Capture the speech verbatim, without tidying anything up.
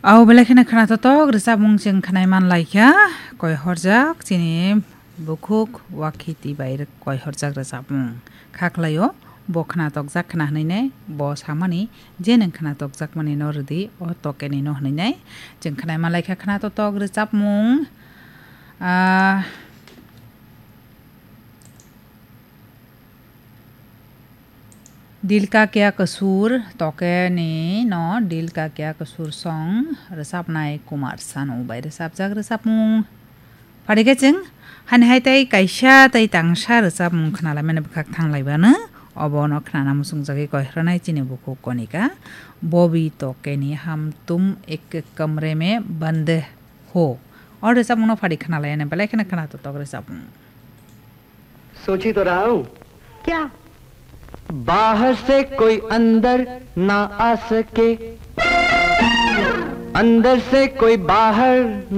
Au belai kheno khwnatok tok rwchapmung chwng khwnai man lai kha, koi horjak chini bukhuk Wakhiti bai rw-, koi horjak rwchapmung. Kha khlaio, bo khwnatokjak khwna hwnwi nai, bo samani je nwng khwnatokjakmani no rwdi, o tokeni no hwnwi nai. Chwng khwnai man lai kha khwnatok tok rwchapmung. Ah, Dil ka kya kasur, toke ni no dil ka kya kasur song rwchapnai Kumar Sanu bai rwchapjak rwchapmung. Phari khe chwng hani hai tei kaisa tei tangsa rwchapmung khwnalaimani bwkhak thanglaibano, obono khwnana muchungjagwi koihrwnai chini bukhuk Konika, Bobi toke ni hum tum ek kamre mein band ho. O rwchapmungno phari khwnalaiyani belai kheno khwnatok tok rwchapmung. सोच ही तो रहा हूँ। क्या? बाहर से कोई अंदर ना आ सके, अंदर से कोई बाहर